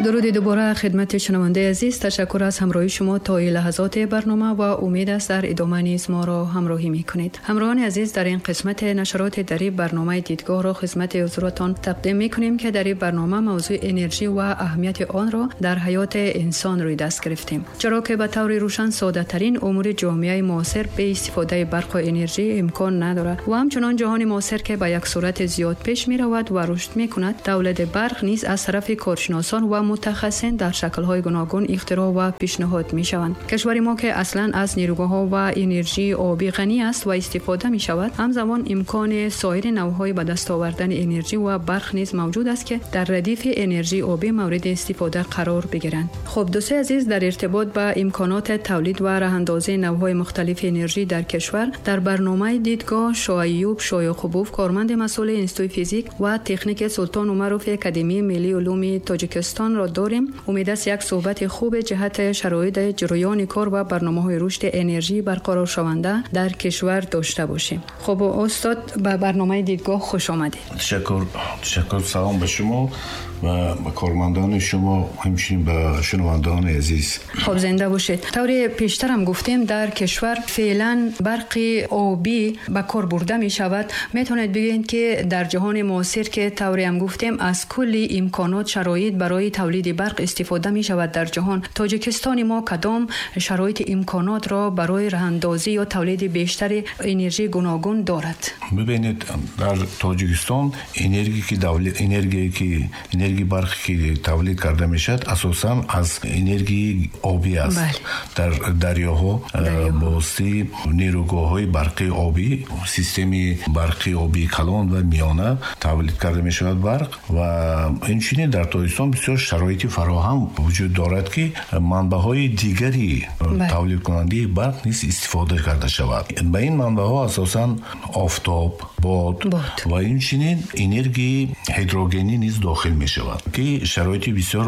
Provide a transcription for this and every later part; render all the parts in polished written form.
Дуруди дубора хидмати шунавандаи азиз. Ташаккур аз ҳамроҳии шумо то ин лаҳзоти барнома ва умед аст дар идома низ моро ҳамроҳӣ мекунед. Ҳамроҳони азиз, дар ин қисмати нашароти дари барномаи дидгоҳро хидмати ҳузуратон тақдим мекунем, ки дар ин барнома мавзӯи энержӣ ва аҳамияти онро дар ҳаёти инсон рӯи даст гирифтем. Чаро ки ба таври рӯшан соддатарин умури ҷомеаи муосир бе истифодаи барқ ва энержӣ имкон надорад ва ҳамчунон ҷаҳони муосир ки ба як суръати зиёд пеш меравад ва рушд мекунад, тавлиди барқ низ аз тарафи коршиносон ва мутахассисон дар шаклҳои гуногун ихтироъ ва пешниҳод мешаванд. Кишвари мо ки аслан аз нерӯгоҳҳо ва энержии обӣ ғанӣ аст ва истифода мешавад, ҳамзамон имкони соири навъҳои ба даст овардани энержӣ ва барқ низ мавҷуд аст, ки дар радифи энержии обӣ мавриди истифода қарор бигиранд. Хуб, дӯстои азиз, дар иртибот ба имконоти тавлид ва роҳандозии навъҳои мухталифи энержӣ дар кишвар дар барномаи дидгоҳ Шоаюб Шояқубов, корманди масъули Институти физик ва техники Султон Умаров Академияи миллии улуми Тоҷикистонро дорем. Умед аст як суҳбати хуби ҷиҳати шароити ҷараёни кор ва барномаҳои рушди энержии барқароршаванда дар кишвар дошта бошем. Хуб, устод, ба барномаи дидгоҳ хуш омадед. Ташаккур, ташаккур. Салом ба шумо ва ба кормандони шумо, ҳамчунин ба шунавандагони азиз. Хуб, зинда бошед. Тавре пештар ҳам гуфтем, дар кишвар феълан барқи обӣ ба кор бурда мешавад. Метавонед бигӯед, ки дар ҷаҳони муосир, ки тавре ҳам гуфтем, аз кулли имконот шароит барои тавлиди барқ истифода мешавад дар ҷаҳон, Тоҷикистони мо кадом шароити имконотро барои роҳандозӣ ё тавлиди бештари энержии гуногун дорад? Бибинед, дар Тоҷикистон энергии барқе ки тавлид карда мешавад, асосан аз энергияи обӣ аст. Дар дарёҳо бо воситаи нерӯгоҳҳои барқии обӣ, системаи барқии обии калон ва миёна тавлид карда мешавад барқ. Ва инчунин дар Тоҷикистон бисёр шароити фароҳам вуҷуд дорад, ки манбаъҳои дигари тавлидкунандаи барқ низ истифода карда шавад. Ба ин манбаъҳо асосан офтоб, бод ва инчунин энергияи ҳидрогенӣ низ дохил мешавад, ки шароити бисёр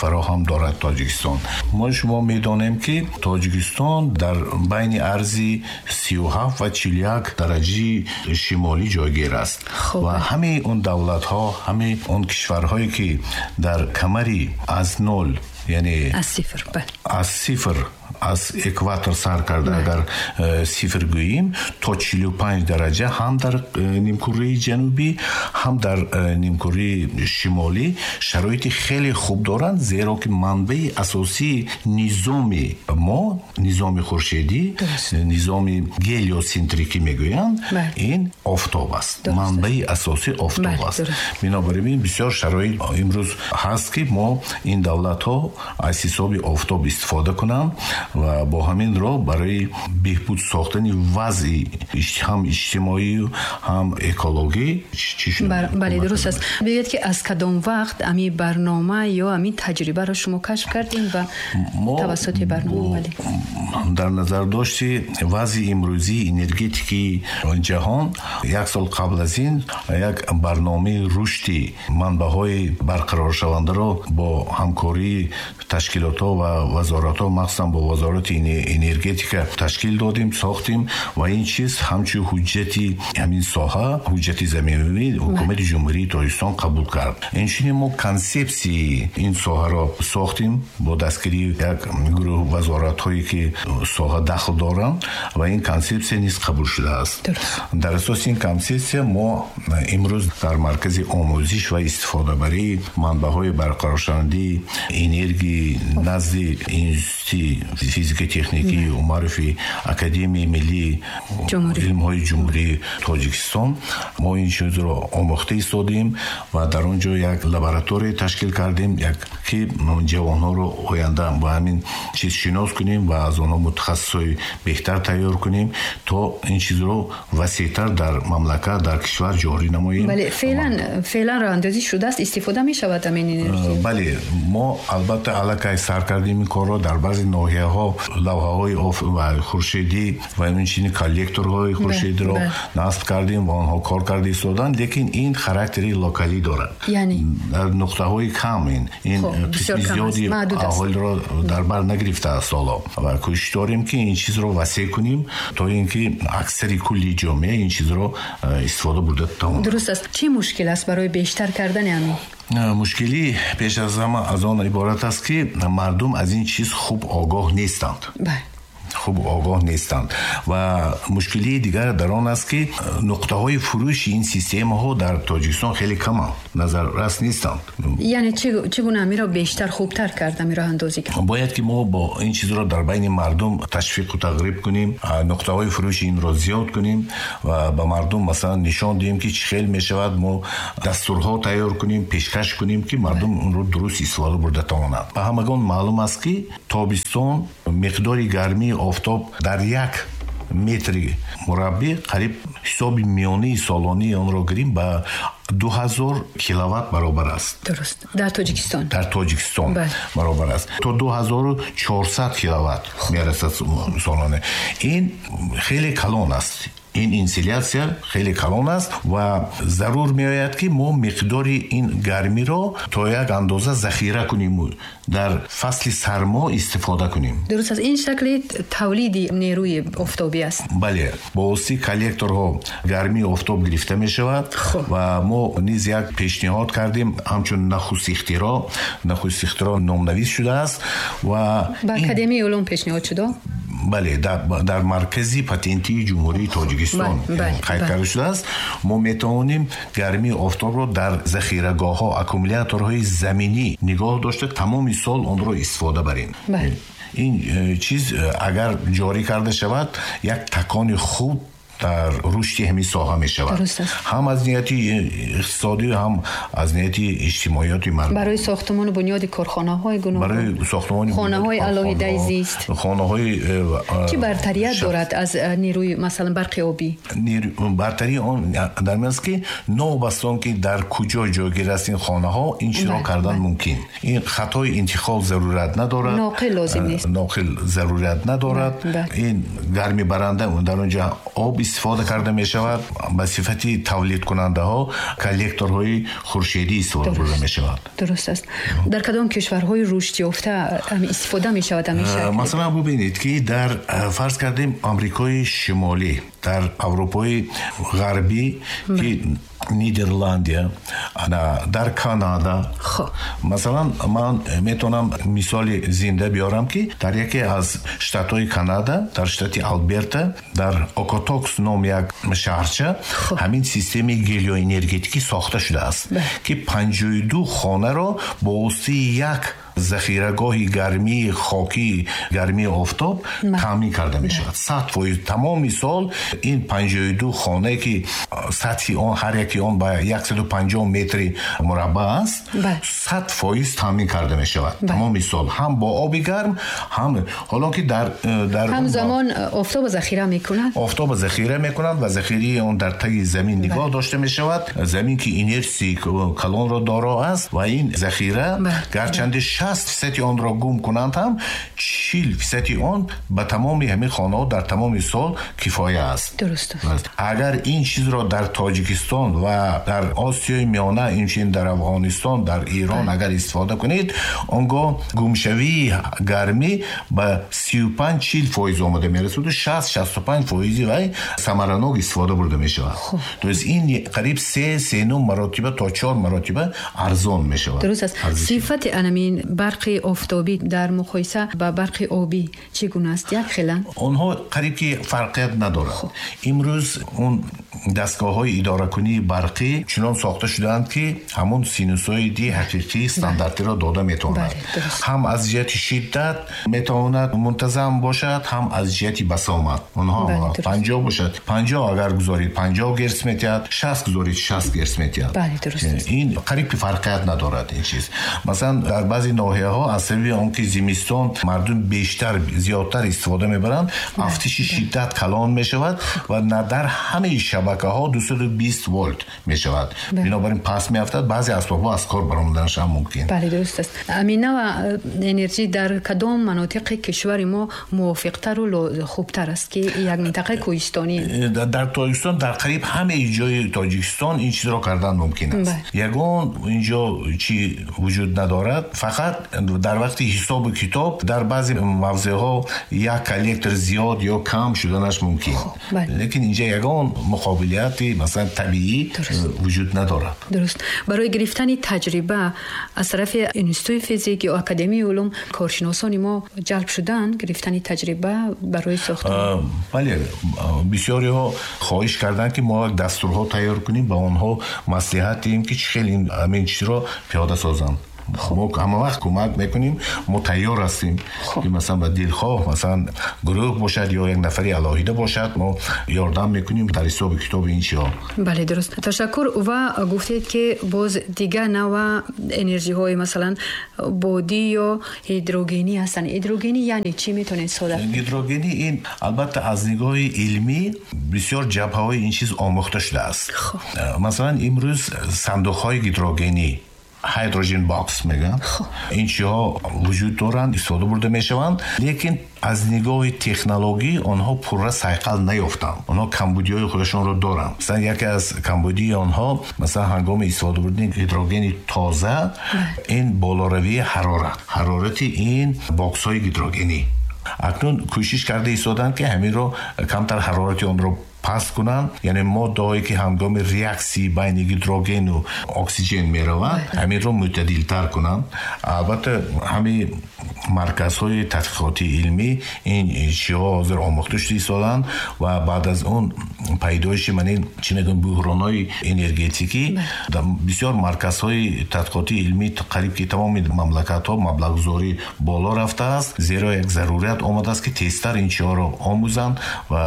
фароҳам дорад Тоҷикистон. Мо шумо медонем, ки Тоҷикистон дар байни арзи 37 ва 41 дараҷаи шимолӣ ҷойгир аст ва ҳамаи он давлатҳо, ҳамаи он кишварҳое ки дар камари аз нол, яъне аз сифр, бале, аз сифр, аз экватор сар карда, агар сифр гӯем, то 45 дараҷа ҳам дар нимкураи ҷанубӣ, ҳам дар нимкураи шимолӣ шароити хеле хуб доранд, зеро ки манбаи асосии низоми мо, низоми хуршедӣ, низоми гелиоцентрикӣ мегӯянд, ин офтоб аст. Манбаи асосӣ офтоб аст. Бинобар ин бисёр шароит имрӯз ҳаст, ки мо ин давлатҳо аз ҳисоби офтоб истифода кунанд ва бо ҳамин роҳ барои беҳбуд сохтани вазъи ҳам иҷтимоию ҳам экологӣ чӣ шуд? Бале, дуруст аст. Бигӯед, ки аз кадом вақт ами барнома ё ами таҷрибаро шумо кашф кардем ва тавассути барнома? Бале, дар назар дошти вазъи имрӯзии энергетикии ҷаҳон, як сол қабл аз ин як барномаи рушди манбаъҳои барқароршавандаро бо ҳамкории ташкилотҳо ва вазоратҳо, махсусан бо вазорати энергетика ташкил додем, сохтем ва ин чиз ҳамчун ҳуҷҷати ҳамин соҳа, ҳуҷҷати заминавӣ ҳукумати Ҷумҳурии Тоҷикистон қабул кард. Инчунин мо консепсияи ин соҳаро сохтем бо дастгирии як гурӯҳ вазоратҳое ки соҳа дахл доранд ва ин консепсия низ қабул шудааст. Дар асоси ин консепсия мо имрӯз дар маркази омӯзиш ва истифодабарии манбаъҳои барқароршавандаи энергии назди Институти физика техникии Умарови Академияи миллии илмҳои Ҷумҳурии Тоҷикистон мо ин чизро омӯхта истодем ва дар он ҷо як лаборатория ташкил кардем, як ки ҷавонҳоро оянда ба ҳамин чиз шинос кунем ва аз онҳо мутахассисҳои беҳтар тайёр кунем, то ин чизро васеътар дар мамлакат, дар кишвар ҷорӣ намоем. Бале, феълан роҳандозӣ шудааст, истифода мешавад ҳамин энергия? Бале, мо албатта аллакай сар кардем ин корро. Дар баъзе ноҳияҳо лавҳаҳои хуршедӣ ва инчунин коллекторҳои хуршедиро насб кардем ва онҳо кор карда истоданд, лекин ин характери локалӣ дорад, дар нуқтаҳои кам. Ин қисми зиёди аҳолиро дар бар нагирифтааст ҳоло ва кӯшиш дорем, ки ин чизро васеъ кунем, то ин ки аксари кулли ҷомеа ин чизро истифода бурда тавонад. Дуруст аст. Чӣ мушкил аст барои бештар кардани ҳамин? Мушкилӣ пеш аз ҳама аз он иборат аст, ки мардум аз ин чиз хуб огоҳ нестанд. Хуб огоҳ нестанд. Ва мушкилии дигар дар он аст, ки нуқтаҳои фурӯши ин системаҳо дар Тоҷикистон хеле каманд, назаррас нестанд. Яъне чӣ гуна амиро бештар хубтар кард, амиро андозӣ кард? Бояд ки мо бо ин чизро дар байни мардум ташвиқу тағриб кунем, нуқтаҳои фурӯши инро зиёд кунем ва ба мардум масалан нишон диҳем, ки чӣ хел мешавад. Мо дастурҳо тайёр кунем, пешкаш кунем, ки мардум онро дуруст истифода бурда тавонанд. Ба ҳамагон маълум аст, ки тобистон миқдори гармии офтоб дар як метри мураббӣ қариб ҳисоби миёнаи солонии онро гирем ба 2000 киловатт баробар аст. Дуруст. Дар Тоҷикистон. Дар Тоҷикистон баробар аст. То 2400 киловатт мерасад солона. Ин хеле калон аст. Ин инсолятсия хеле калон аст ва зарур меояд, ки мо миқдори ин гармиро то як андоза захира кунем, дар фасли сармо истифода кунем. Дуруст аст. Ин шакли тавлиди нерӯи офтобӣ аст. Бале, бо воситаи коллекторҳо гармии офтоб гирифта мешавад. Ва мо низ як пешниҳод кардем, ҳамчун нахуст ихтироъ, нахуст ихтироъ номнавис шудааст ва ба Академияи улум пешниҳод шуда? Бале, дар маркази патентии Ҷумҳурии Тоҷикистон қайд карда шудааст. Мо метавонем гармии офтобро дар захирагоҳҳо, аккумуляторҳои заминӣ нигоҳ дошта, тамоми сол онро истифода барем. Ин чиз агар ҷорӣ карда шавад, як такони хуб дар рушди ҳамин соҳа мешавад, ҳам аз ниҳати иқтисодӣ, ҳам аз ниҳати иҷтимоиёти мардум. Барои сохтмону бунёди корхонаҳои гуногун, барои сохтмони хонаҳои алоҳидаи зист, хонаҳои чӣ бартарият дорад аз нерӯи масалан барқи обӣ? Бартарии он дар ин аст, ки новобаста он ки дар куҷо ҷойгир аст ин хонаҳо, ин чизро кардан мумкин. Ин хатои интиқол зарурат надорад, ноқил лозим нест, ноқил зарурат надорад. Ин гармибаранда дар он ҷо об истифода карда мешавад, ба сифати тавлидкунандаҳо коллекторҳои хуршедӣ истифода бурда мешавад. Дуруст аст. Дар кадом кишварҳои рушдёфта истифода мешавад ҳамин шакл? Масалан, бубинед, ки дар фарз кардем Амрикои Шимолӣ, дар Аврупои Ғарбӣ, ки Нидерландия, дар Канада. Масалан, ман метавонам мисоли зинда биёрам, ки дар яке аз штатҳои Канада, дар штати Алберта, дар Окотокс ном як шаҳрча, ҳамин системаи гелиоэнергетикӣ сохта шудааст, ки 52 хонаро бо воситаи як захирагоҳи гармии хокӣ, гармии офтоб таъмин карда мешавад 100% тамоми сол. Ин 52 хонае, ки сатҳи он ҳар яки он ба 150 метри мураббаъ аст, 100% таъмин карда мешавад тамоми сол, ҳам бо оби гарм, ҳам ҳоло ки дар ҳамзамон офтобо захира мекунад, офтобо захира мекунад ва захираи он дар таги замин нигоҳ дошта мешавад. Замин ки инерсии калонро доро аст ва ин захира гарчанде 60% онро гум кунанд ҳам, 40% он ба тамоми ҳамин хонаҳо дар тамоми сол кифоя аст. Дуруст аст. Агар ин чизро дар Тоҷикистон ва дар Осиёи Миёна, инчунин дар Афғонистон, дар Эрон агар истифода кунед, он гоҳ гумшавии гармӣ ба 35-40% омада мерасад, 60-65 фоизи вай самаранок истифода бурда мешавад. То есть ин қариб 3-3.5 маротиба то 4 маротиба арзон мешавад. Дуруст аст. Сифати анамин барқи офтобӣ дар муқоиса ба барқи обӣ чӣ гуна аст? Як хеланд? Онҳо қариб ки фарқият надорад. Имрӯз он дастгоҳҳои идоракунии барқӣ чунон сохта шудаанд, ки ҳамон синусоиди ҳақиқии стандартиро дода метавонад. Ҳам аз ҷиҳати шиддат метавонад мунтазам бошад, ҳам аз ҷиҳати басомад. Онҳо 50 бошад, 50 агар гузоред 50 герц метиҳад, 60 гузоред 60 герц метиҳад. Ин қариб ки фарқият надорад ин чиз. Масалан, дар баъзе ноҳияҳо аз сабаби он ки зимистон мардум бештар зиёдтар истифода мебаранд, афтиши шиддат калон мешавад ва на дар ҳамаи шабакаҳо 220 волт мешавад. Бинобар ин пас меафтад, баъзе асбобҳо аз кор баромаданаш ҳам мумкин. Бале, дуруст аст. Ҳамин навъ энергия дар кадом манотиқи кишвари мо мувофиқтару хубтар аст, ки як минтақаи кӯҳистонӣ? Дар Тоҷикистон, дар қариб ҳамаи ҷои Тоҷикистон ин чизро кардан мумкин аст. Ягон инҷо чӣ вуҷуд надорад, фақат Фақат дар вақти ҳисобу китоб дар баъзе мавзеъҳо як коллектор зиёд ё кам шуданаш мумкин. Лекин инҷа ягон муқобилияти масалан табиӣ вуҷуд надорад. Дуруст. Барои гирифтани таҷриба аз тарафи Институти физик ё Академияи улум коршиносони мо ҷалб шуданд, гирифтани таҷриба барои сохтан? Бале, бисёриҳо хоҳиш карданд, ки мо як дастурҳо тайёр кунем, ба онҳо маслиҳат диҳем, ки чӣ хел ҳамин чизро пиёда созанд. Мо ҳама вақт кӯмак мекунем, мо тайёр ҳастем, ки масалан ба дилхоҳ масалан гурӯҳ бошад ё як нафари алоҳида бошад, мо ёрдам мекунем дар ҳисоби китоби ин чиҳо. Бале, дуруст. Ташаккур. Ва гуфтед, ки боз дигар навъ энержиҳои масалан бодӣ ё ҳидрогенӣ ҳастанд. Ҳидрогенӣ яъне чӣ, метавонед сода? Ҳидрогенӣ ин албатта аз нигоҳи илмӣ бисёр ҷабҳаҳои ин чиз омӯхта шудааст. Масалан имрӯз сандуқҳои гидрогенӣ, hydrogen box мегӯянд, ин чиҳо вуҷуд доранд, истифода бурда мешаванд, лекин аз нигоҳи технологӣ онҳо пурра сайқал наёфтанд. Онҳо камбудиҳои худашонро доранд. Масалан яке аз камбудии онҳо, масалан ҳангоми истифода бурдани гидрогени тоза, ин болоравии ҳарорат, ҳарорати ин боксҳои гидрогенӣ. Акнун кӯшиш карда истоданд, ки ҳаминро камтар ҳарорати онро паст кунанд, яъне моддаҳое, ки ҳангоми реаксияи байни гидрогену оксиген мераванд, ҳаминро мӯътадилтар кунанд. Албатта ҳамин марказҳои тадқиқотии илмӣ ин чиҳо ҳозир омӯхта шуда истоданд ва баъд аз он пайдоиши ман ин чӣ мегӯям буҳронҳои энергетикӣ бисёр марказҳои тадқиқотии илмӣ қариб ки тамоми мамлакатҳо маблағгузорӣ боло рафтааст, зеро як зарурият омадааст, ки тезтар ин чиҳоро омӯзанд ва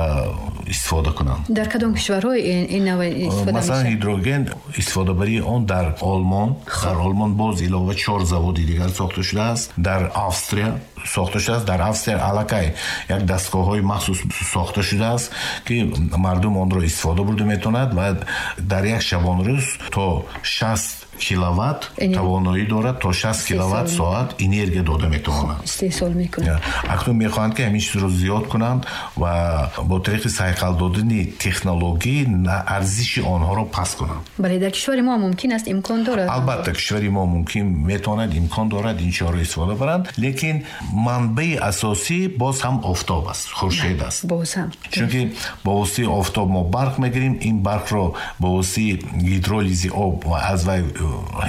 истифода кунанд. Дар кадом кишварҳо ин навъ истифода мешавад? Масалан ҳидроген истифодабарии он дар Олмон, дар Олмон боз илова 4 заводи дигар сохта шудааст, дар Австрия сохта шудааст. Дар Австрия аллакай як дастгоҳҳои махсус сохта шудааст, ки мардум онро истифода бурда метавонад ва дар як шабонрӯз то 60 киловатт тавоноӣ дорад, то 60 киловатт соат энергия дода метавонад. Истеҳсол мекунад. Акнун мехоҳанд, ки ҳамин чизро зиёд кунанд ва бо тариқи сайқал додани технологӣ арзиши онҳоро паст кунанд. Бале, дар кишвари мо мумкин аст, имкон дорад? Албатта кишвари мо мумкин метавонад, имкон дорад ин чизҳоро истифода баранд, лекин манбаи асосӣ боз ҳам офтоб аст, хуршед аст. Боз ҳам. Чунки бо воситаи офтоб мо барқ мегирем, ин барқро бо воситаи гидролизи об ва аз вай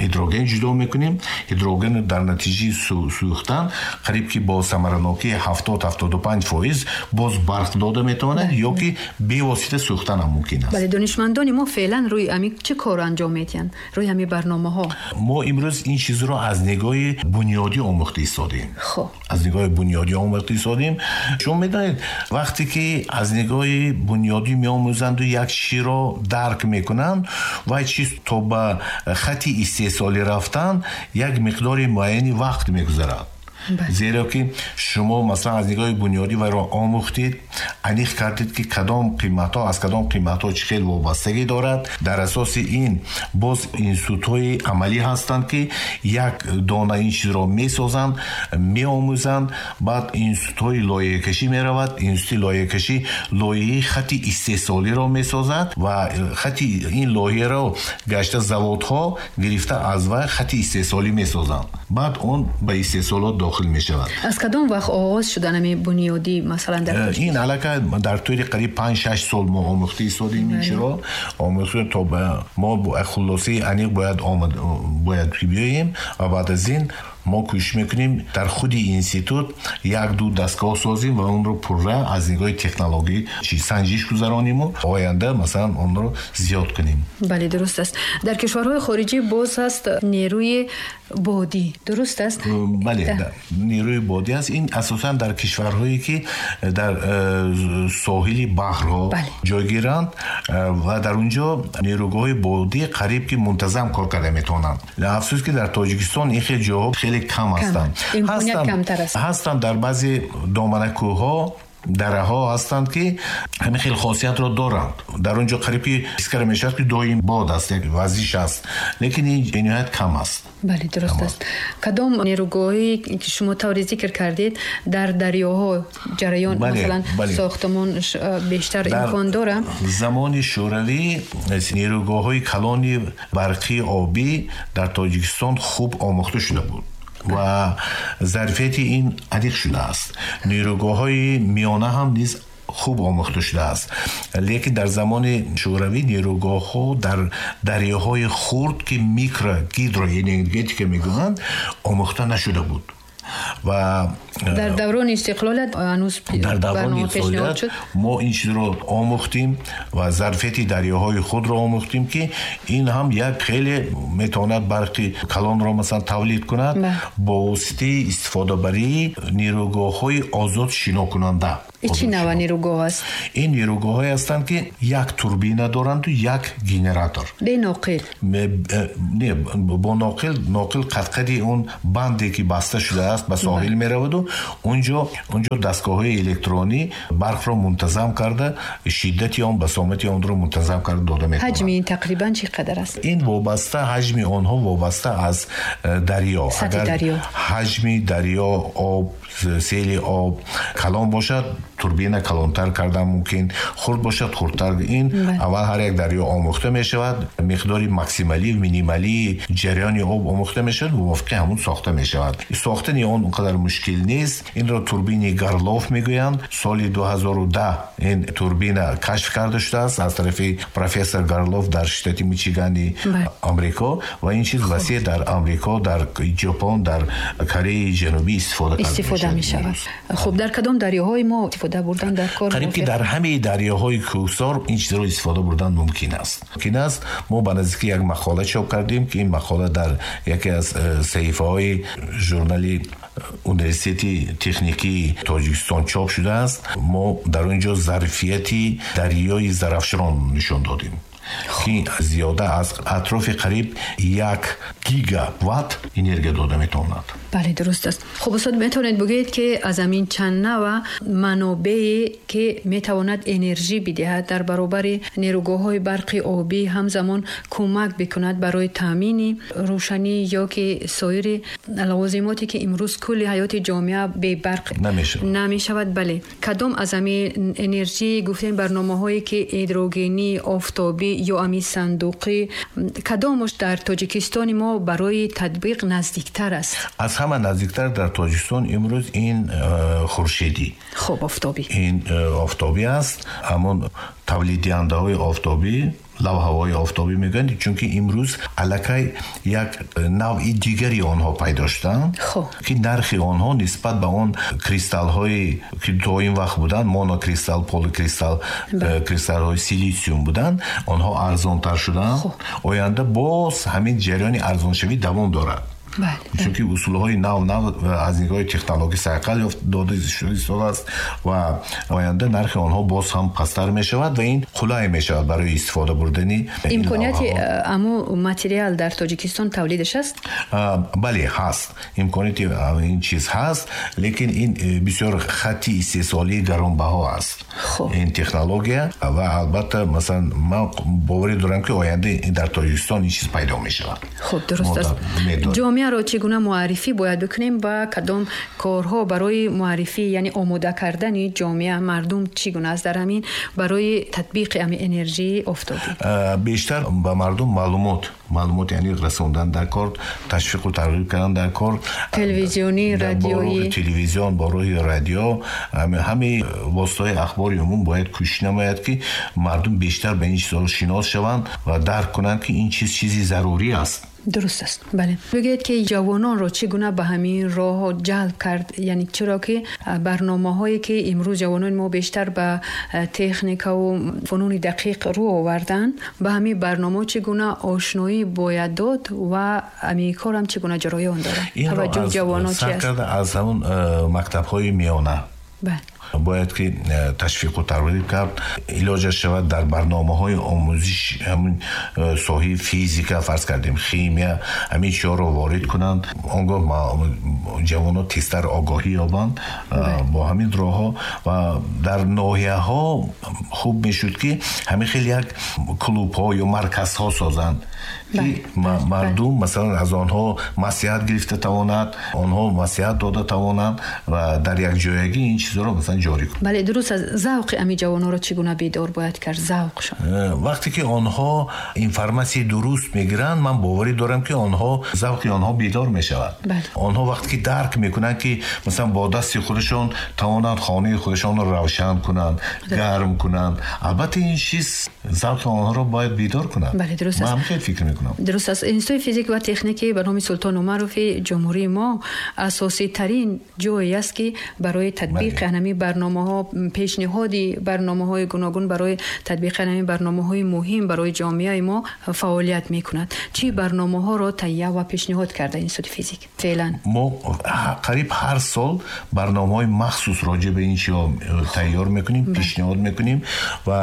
ҳидроген ҷудо мекунем. Ҳидрогенро дар натиҷаи сӯхтан қариб ки бо самаранокии 70-75% боз барқ дода метавонад ё ки бевосита сӯхтан ҳам мумкин аст. Бале, донишмандони мо феълан рӯи ҳамин чӣ кор анҷом медиҳанд? Рӯи ҳамин барномаҳо? Мо имрӯз ин чизро аз нигоҳи бунёдӣ омӯхта истодем. Аз нигоҳи бунёдӣ омӯхта истодем. Шумо медонед, вақте ки аз нигоҳи бунёдӣ меомӯзанду як чизро дарк мекунанд, вай чиз то ба хати истеҳсолӣ рафтан як миқдори муайяни вақт мегузарад. Зеро ки шумо масалан аз нигоҳи бунёдӣ вайро омӯхтед, аниқ кардед, ки кадом қиматҳо аз кадом қиматҳо чӣ хел вобастагӣ дорад. Дар асоси ин боз институтҳои амалӣ ҳастанд, ки як дона ин чизро месозанд, меомӯзанд. Баъд институтҳои лоиҳакашӣ меравад. Институти лоиҳакашӣ лоиҳаи хати истеҳсолиро месозад ва хати ин лоиҳаро гашта заводҳо гирифта аз вай хати истеҳсолӣ месозанд. Баъд он ба истеҳсолот дохил мешавад. Аз кадом вақт оғоз шудан ҳамин бунёдӣ масалан дар Тоҷикистон? Ин аллакай дар тӯли қариб 5-6 сол мо омӯхта истодем ин чиро. Омӯхта то ба мо хулосаи аниқ бояд биёем ва баъд аз ин мо кӯшиш мекунем дар худи институт як-ду дастгоҳ созем ва онро пурра аз нигоҳи технологӣ санҷиш гузарониму оянда масалан онро зиёд кунем. Бале, дуруст аст. Дар кишварҳои хориҷӣ боз ҳаст нерӯи бодӣ, дуруст аст? Бале, нерӯи бодӣ аст. Ин асосан дар кишварҳое, ки дар соҳили баҳрҳо ҷойгиранд ва дар он ҷо нерӯгоҳҳои бодӣ қариб ки мунтазам кор карда метавонанд. Афсӯс, ки дар Тоҷикистон ин хел ҷоҳо хеле кам ҳастанд. Имконият камтар аст. Ҳастанд дар баъзе доманакӯҳҳо, дараҳо ҳастанд, ки ҳамин хел хосиятро доранд. Дар он ҷо қариб ки ҳис карда мешавад, ки доим бод аст, як вазиш аст, лекин ин бениҳоят кам аст. Бале, дуруст аст. Кадом нерӯгоҳе, ки шумо тавре зикр кардед, дар дарёҳо ҷараён, масалан сохтмон бештар имкон дорад? Замони Шӯравӣ нерӯгоҳҳои калони барқии обӣ дар Тоҷикистон хуб омӯхта шуда буд. Ва зарфияти ин аниқ шудааст. Нерӯгоҳҳои миёна ҳам низ хуб омӯхта шудааст. Лекин дар замони Шӯравӣ нерӯгоҳҳо дар дарёҳои хурд, ки микро гидроэнергетика мегӯянд, омӯхта нашуда буд. Ва дар даврони истиқлолият ҳанӯз дар даврони истиқлолият мо ин чизро омӯхтем ва зарфияти дарёҳои худро омӯхтем, ки ин ҳам як хеле метавонад барқи калонро масалан тавлид кунад бо воситаи истифодабарии нерӯгоҳҳои озод шинокунанда. Ин чӣ навъ нерӯгоҳ аст? Ин нерӯгоҳҳое ҳастанд, ки як турбина доранду як генератор. Бе ноқил? Не, бо ноқил. Ноқил қадқади он банде ки баста шудааст ба соҳил мераваду унҷо дастгоҳҳои электронӣ барқро мунтазам карда, шиддати он, басомати онро мунтазам карда дода метавонад. Ҳаҷми ин тақрибан чӣ қадар аст? Ин вобаста, ҳаҷми онҳо вобаста аз дарё. Сатҳи дарё. Ҳаҷми дарё, об, сели об калон бошад, турбина калонтар кардан мумкин, хурд бошад хурдтар. Ин аввал ҳар як дарё омӯхта мешавад, миқдори максималӣ, минималии ҷараёни об омӯхта мешавад, мувофиқи ҳамун сохта мешавад. Сохтани он он қадар мушкил нест. Инро турбини Гарлов мегӯянд. Соли 2010 ин турбина кашф карда шудааст аз тарафи профессор Гарлов дар штати Мичигани Амрико ва ин чиз васеъ дар Амрико, дар Ҷопон, дар Кореяи Ҷанубӣ истифода мешавад. Хуб, дар кадом дарёҳои мо истифода бурдан дар кор? Қариб ки дар ҳамаи дарёҳои кӯҳсор ин чизро истифода бурдан мумкин аст. Мумкин аст. Мо ба наздикӣ як мақола чоп кардем, ки ин мақола дар яке аз саҳифаҳои журнали Университети техникии Тоҷикистон чоп шудааст. Мо дар он ҷо зарфияти дарёи Зарафшон нишон додем, ки зиёда аз атрофи қариб 1 гигаватт энергия дода метавонад. Бале, дуруст аст. Хуб, устод, метавонед бигӯед, ки аз ҳамин чанд навъ манобее ки метавонад энержӣ бидиҳад дар баробари нерӯгоҳҳои барқи обӣ ҳамзамон кӯмак бикунад барои таъмини рӯшанӣ ё ки соири лавозимоте ки имрӯз кулли ҳаёти ҷомеа бебарқ намешавад. Бале, кадом аз ҳамин энержӣ гуфтем барномаҳое ки гидрогенӣ, офтобӣ ё ҳамин сандуқӣ, кадомаш дар Тоҷикистони мо барои татбиқ наздиктар аст? Аз ҳама наздиктар дар Тоҷикистон имрӯз ин хуршедӣ. Хуб, офтобӣ. Ин офтобӣ аст. Ҳамон тавлиддиҳандаҳои офтобӣ, лавҳаҳои офтобӣ мегӯянд, чунки имрӯз аллакай як навъи дигари онҳо пайдо шуданд, ки нархи онҳо нисбат ба он кристаллҳое ки то ин вақт буданд, монокристалл, поликристалл, кристаллҳои силитсиум буданд, онҳо арзонтар шуданд. Оянда боз ҳамин ҷараёни арзоншавӣ давом дорад. Чунки усулҳои нав нав аз нигоҳи технология сайқал дода шудааст ва оянда нархи онҳо боз ҳам пасттар мешавад ва ин қулай мешавад барои истифода бурдани. Имконияти аму материал дар Тоҷикистон тавлидаш аст? Бале, ҳаст. Имконияти ин чиз ҳаст, лекин ин бисёр хатти истеҳсолии гаронбаҳо аст. Ин технология ва албатта, масалан, ман боварӣ дорам, ки оянда дар Тоҷикистон ин чиз пайдо мешавад. Хуб, дуруст аст. Ҷомеаро чӣ гуна муаррифӣ бояд бикунем ва кадом корҳо барои муаррифӣ, яъне омода кардани ҷомеа, мардум чӣ гуна аст дар ҳамин барои татбиқи ҳамин энержии офтобӣ? Бештар ба мардум маълумот яъне расондан дар кор, ташвиқу тарғиб кардан дар кор, телевизионӣ, радиоӣ, телевизион, бо роҳи радио, ҳамаи воситаҳои ахбори умум бояд кӯшиш намояд, ки мардум бештар ба ин чизҳо шинос шаванд ва дарк кунанд, ки ин чиз чизи зарурӣ аст. Дуруст аст. Бале, бигӯед, ки ҷавононро чӣ гуна ба ҳамин роҳ ҷалб кард? Яъне чиро ки барномаҳое ки имрӯз ҷавонони мо бештар ба техникаву фунуни дақиқ рӯ оварданд, ба ҳамин барномаҳо чӣ гуна ошноӣ бояд дод ва ҳамин кор ҳам чӣ гуна ҷараён дорад? Таваҷҷӯҳи ҷавонон чи аст? Сар карда аз ҳамон мактабҳои миёна бояд ки ташвиқу тарғиб кард, илоҷаш шавад дар барномаҳои омӯзиш ҳамин соҳаи физика, фарз кардем, химия, ҳамин чизҳоро ворид кунанд. Он гоҳ ҷавонон тезтар огоҳӣ ёбанд бо ҳамин роҳҳо. Ва дар ноҳияҳо хуб мешуд, ки ҳамин хел як клубҳо ё марказҳо созанд, ки мардум масалан аз онҳо маслиҳат гирифта тавонад, онҳо маслиҳат дода тавонанд ва дар якҷоягӣ ин чизҳоро масалан масалан ҷорӣ кунем. Бале, дуруст аст. Завқи ҳамин ҷавононро чӣ гуна бедор бояд кард? Завқшон. Вақте ки онҳо информатсияи дуруст мегиранд, ман боварӣ дорам, ки онҳо завқи онҳо бедор мешавад. Онҳо вақте ки дарк мекунанд, ки масалан бо дасти худашон тавонанд хонаи худашонро равшан кунанд, гарм кунанд, албатта ин чиз завқи онҳоро бояд бедор кунад. Бале, дуруст аст. Ман хеле фикр мекунам. Дуруст аст. Институти физик ва техники ба номи Султон Умарови ҷумҳурии мо асоситарин ҷое аст, ки барои татбиқи ҳамин барномаҳо, пешниҳоди барномаҳои гуногун барои татбиқи ҳамин барномаҳои муҳим барои ҷомеаи мо фаъолият мекунад. Чӣ барномаҳоро таҳия ва пешниҳод карда институти физик феълан? Мо қариб ҳар сол барномаҳои махсус роҷеъ ба ин чизҳо тайёр мекунем, пешниҳод мекунем ва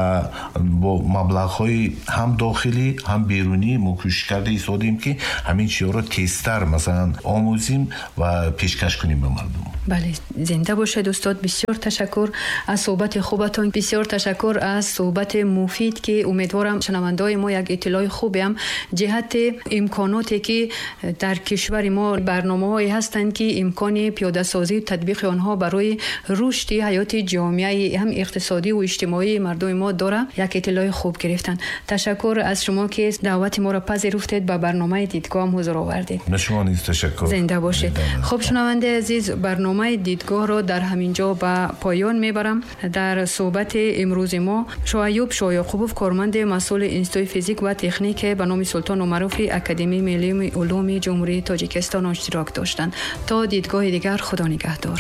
бо маблағҳои ҳам дохилӣ, ҳам берунӣ мо кӯшиш карда истодем, ки ҳамин чизҳоро тезтар масалан омӯзем ва пешкаш кунем ба мардум. Бале, зинда бошед устод. Бисёр ташаккур аз суҳбати хубатон, бисёр ташаккур аз суҳбати муфид, ки умедворам шунавандаҳои мо як иттилои хубе ҳам ҷиҳати имконоте, ки дар кишвари мо барномаҳое ҳастанд, ки имкони пиёдасозию татбиқи онҳо барои рушди ҳаёти ҷомеаи ҳам иқтисодӣ ва иҷтимоии мардуми мо дорад, як иттилои хуб гирифтанд. Ташаккур аз шумо, ки даъвати моро пазируфтед, ба барномаи дидгоҳ ҳам ҳузур овардед. Ба шумо низ ташаккур. Зинда бошед. Зинда. Хуб, шунавандаи азиз, барномаи дидгоҳро дар ҳамин ҷо ба поён мебарам. Дар суҳбати имрӯзи мо Шоаюб Шоёқубов, корманди масъули Институти физик ва техник ба номи Султон Умарови Академияи миллии улуми Ҷумҳурии Тоҷикистон иштирок доштанд. То дидгоҳи дигар, Худо нигаҳдор.